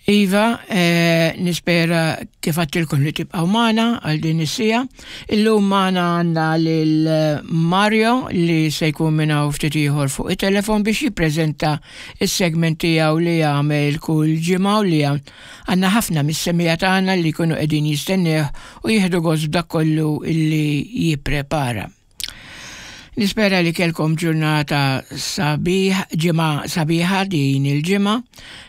Iva, eh, nispera kif għattilkom li tibqaw magħna għal din is-sija. Illum magħna għandna lil Mario li se jkun minn hawn ftit ieħor fuq it-telefon biex jippreżenta s-segment tiegħu li jagħmel kull ġimgħa u li għandna ħafna mis-semija tagħna li jkunu qegħdin jistennieh u jieħdu gost b'dak kollu li jipprepara. Nispera li kelkom ġurnata sabiħ, ġimgħa sabiħa din il-ġimgħa.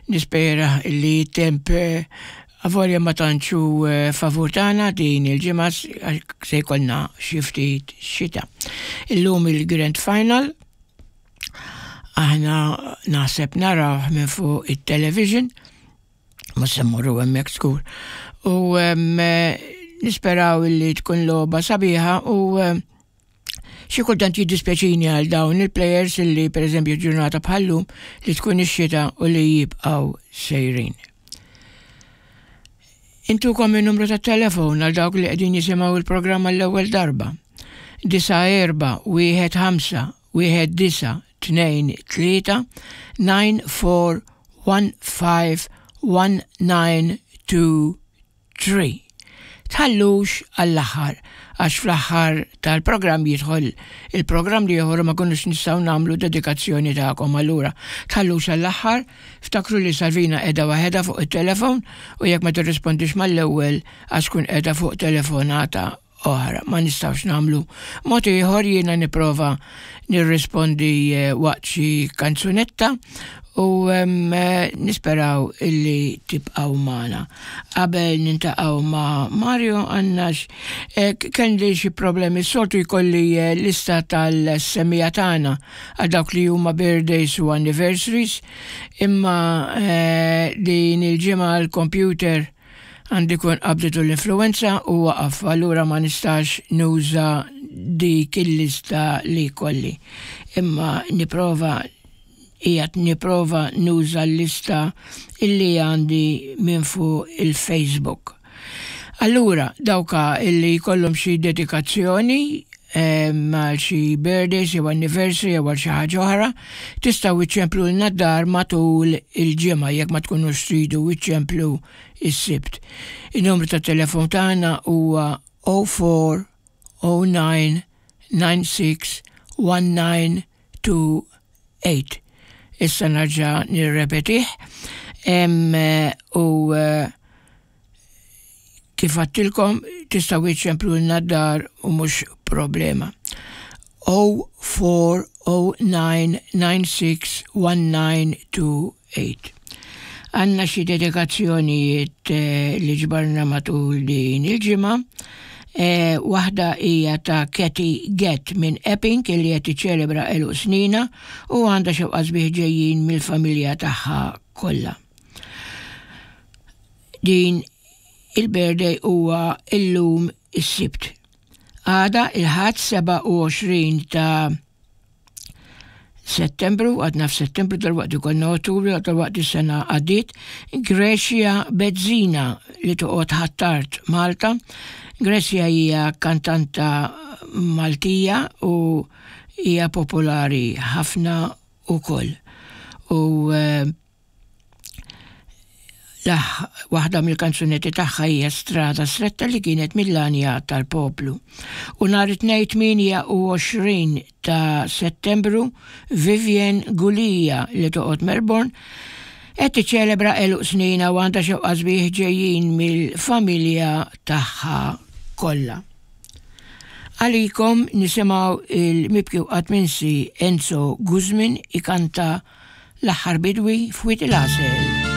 Nispera li temp eh, avolja ma tantxu eh, favur tagħna din il-ġimgħa se jkollna xi ftit xita. Illum il-Grand Final aħna naħseb naraw minn fuq it-television ma se mmorru hemmhekk żgur. U nisperaw li tkun logħba sabiħa u xi kultant jiddispjaċini għal dawn il-players li pereżempju ġurnata bħallum li tkun ix-xita u li jibqgħu sejrin. Intukom il-numru ta' telefon għal dawk li qegħdin jisimgħu il-programm għall-ewwel darba. 9 4 1 5 1 9 2 3 9 4 151923. Tħallux għall-aħħar, għax fl-aħħar tal-programm jidħol il-programm li ieħor ma kunux nistgħu nagħmlu dedikazzjoni tagħkom allura. Tħallux għall-aħħar, ftakru li Salvina qiegħda waħedha fuq it-telefon u jekk ma tirrispondix mal-ewwel għax tkun qiegħda fuq telefonata oħra. Ma nistgħux nagħmlu mod ieħor jiena nipprova nirrispondi eh, waqt xi kanzunetta u eh, nisperaw illi tibqgħu magħna. Qabel nintaqgħu ma' Mario għandna eh, kelli xi problemi soltu jkolli lista tal-semija tagħna għal dawk li huma birthdays u anniversaries imma din il-ġimgħa l-computer Għandi kun qabditu l-influenza u waqaf, allura ma nistax nuża dik il-lista li kolli. Imma niprova qiegħed niprova nuża l-lista illi għandi minn fuq il-Facebook. Allura, dawka illi jkollhom xi dedikazzjoni għal xi birthdays jew anniversary jew għal xi ħaġa oħra, tistgħu iċċemplulna d-dar matul il-ġimgħa jekk ma tkunux tridu iċċemplu is-Sibt. In-numru tat-telefon tagħna huwa 04 09 96 1928. Issa narġa' nirrepetih u eh, Kif għattilkom, tistgħu iċċemplulna d-dar u mhux problema. 0409961928. Għanna xi dedikazzjonijiet eh, li ġbarna matul din il-ġimgħa. Eh, waħda hija ta' Kathy Gett minn Epping li qed tiċċelebra għeluq snina u għandha xewqa sbieħ ġejjin mill-familja tagħha kollha. Din il-birthday huwa illum is-Sibt. Għada il-Ħadd 27 ta' Settembru, għadna f'Settembru dal-waqt ikollna Ottubru, dal-waqt is-sena għaddiet, Grecia Bezzina li toqgħod Ħ'Attard Malta. Grecia hija kantanta Maltija u hija popolari ħafna ukoll. U eh, Waħda mill-kanzunetti tagħha hija Strada Stretta li kienet mill-għanja tal-poplu. U nhar it-Tnejn 28 ta' Settembru, Vivian Gulia li toqgħod Melbourne qed tiċċelebra għeluq snina u għandha xewqa sbieħ ġejjin mill-familja tagħha kollha. Għalikom nisimgħu il-mibki u qatt minsi Enzo Guzmin ikanta L-aħħar bidwi f'Wied il-Għasel.